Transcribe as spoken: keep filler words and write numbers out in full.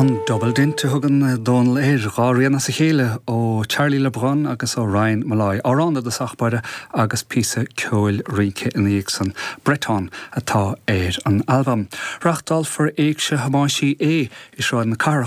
An Double Dint a thugann Dónal air dhá rian as a chéile ó Charlie LeBrun agus ó Ryan Molloy. Amhrán i dtosach báire agus píosa ceoil rince ina dhiaidh san Breton atá ar an albam. Reáchtálfar Éigse Thomáis Uí Aodha i Sráid na Cathrach